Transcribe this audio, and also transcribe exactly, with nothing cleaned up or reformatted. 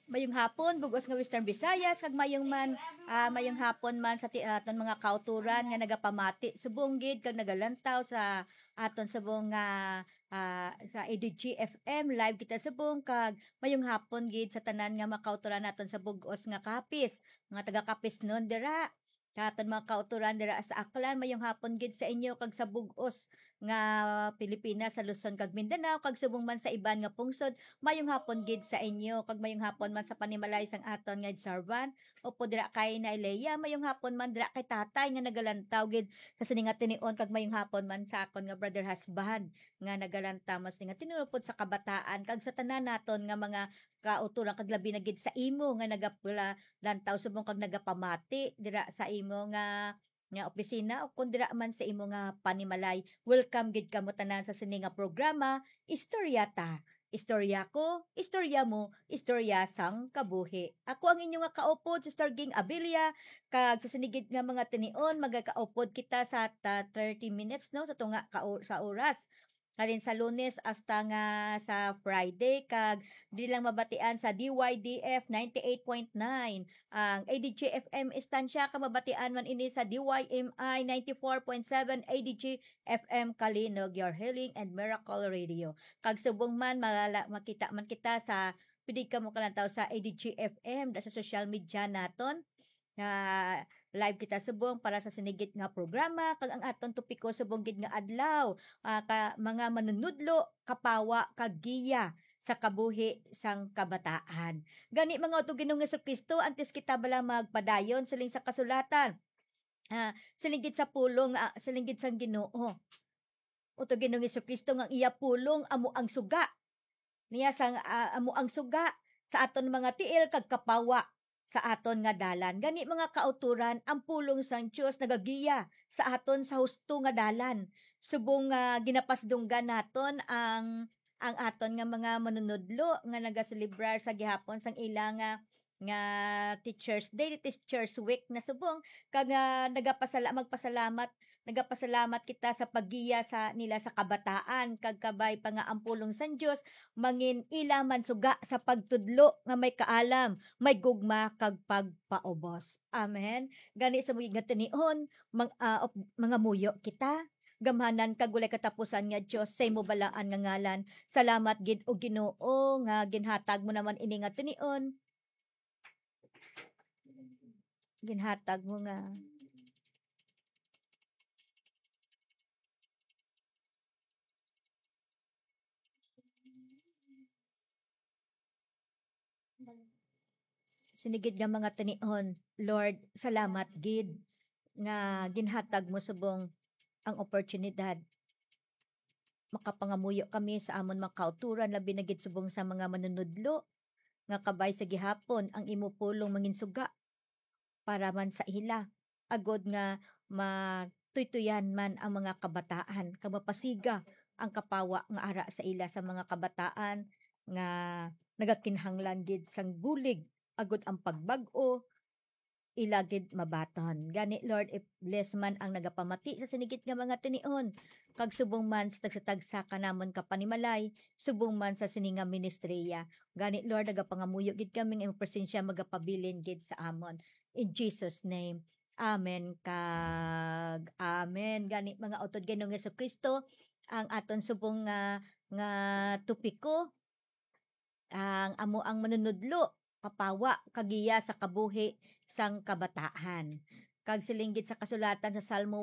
Mayong hapon, bug-os nga Western Visayas, kag mayong man, ah, mayong hapon man sa ti-, aton mga kauturan nga nagapamati subong gid kag nagalantaw sa aton subong nga, ah, sa A D G F M. Live kita subong, kag mayong hapon gid sa tanan nga mga kauturan naton sa bug-os nga Capiz, mga taga Capiz non dira. Sa aton mga kauturan dira sa Aklan, mayong hapon gid sa inyo, kag sa bug-os nga Pilipinas, sa Luzon kag Mindanao, kag subong man sa iban nga pungsod, mayong hapon gid sa inyo, kag mayong hapon man sa panimalay sang aton nga Sarvan, upod dira kay Nay Leia, mayong hapon man dira kay Tatay nga nagalantaw gid sa sini nga tinion, kag mayong hapon man sa akon nga brother husband nga nagalantaw man sini nga tinion, upod sa kabataan, kag sa tanan naton nga mga kauturan, kag labi na gid sa imo nga nagapula-, lantaw subong kag nagapamati dira sa imo nga, nga opisina, o kon dira man sa imo nga panimalay. Welcome gid kamo tanan sa sini nga programa, Istorya Ta. Istorya ko, istorya mo, istorya sang kabuhi. Ako ang inyo nga kaupod, Sister Ging Abilia, kag sa sini gid nga mga tinion, magakaupod kita sa ta-, thirty minutes, no, sa tunga ka o-, sa oras. Halin sa Lunes hasta nga sa Friday, kag di lang mabatian sa D Y D F ninety-eight point nine, ang A D G F M Estancia, kag mabatian man ini sa D Y M I ninety-four point seven A D G F M Kalinog, your healing and miracle radio. Kag subong man, malala-, makita man kita sa, pwede kamo kalantaw sa A D G F M, da sa social media naton. Nga live kita subong para sa sini gid nga programa, kag ang aton topiko subong gid nga adlaw, ah, ka, mga manunudlo, kapawa, kag giya sa kabuhi sang kabataan. Gani, mga utod Ginoong Jesu-Cristo, antes kita bala magpadayon, siling sa kasulatan, ah, siling gid sa pulong, ah, siling gid sang Ginoo. Utod Ginoong Jesu-Cristo, nga ang iya pulong amo ang suga niya sang, ah, amo ang suga sa aton mga tiil kag kapawa sa aton nga dalan. Gani, mga kauturan, ang pulong sang Dios nagagiya sa aton sa husto nga dalan. Subong nga ginapasdunggan naton ang, ang aton nga mga manunudlo nga nagaselebrar sa gihapon sang ila nga, nga Teachers Day, Teachers Week na subong, kag, ah, nagapasala-, magpasalamat Nagapasalamat kita sa paggiya sa nila sa kabataan, kag kabay pa nga ang pulong sang Dios mangin ila man suga sa pagtudlo nga may kaalam, may gugma, kag pagpaubos. Amen. Gani sa mga nga tinion, mang-, ah, op-, mangamuyo kita. Gamhanan kag walay katapusan nga Dios, sa imo balaan nga ngalan. Salamat gid, O Ginoo, nga ginhatag mo naman ini nga tinion. Ginhatag mo nga sini gid nga mga tinion. Lord, salamat gid nga ginhatag mo subong ang oportunidad. Makapangamuyo kami sa amon mga kauturan, labi na gid subong sa mga manunudlo, nga kabay sa gihapon ang imo pulong manginsuga para man sa ila, agod nga matuytuyan man ang mga kabataan, kag mapasiga ang kapawa nga ara sa ila sa mga kabataan nga nagakinahanglan gid sang bulig, agod ang pagbag-o ila gid mabaton. Gani, Lord, i-bless man ang nagapamati sa sini gid nga mga tinion, kag subong man sa tagsa-tagsa ka namon ka panimalay, subong man sa sini nga ministriya. Gani, Lord, nagapangamuyo gid kami nga imong presensya magapabilin gid sa amon. In Jesus' name, amen kag amen. Gani, mga utod Ginoong Jesu-Cristo, ang aton subong nga, nga topiko, ang amo ang manunudlo, kapawa, kag giya sa kabuhi sang kabataan. Kag siling gid sa kasulatan sa Salmo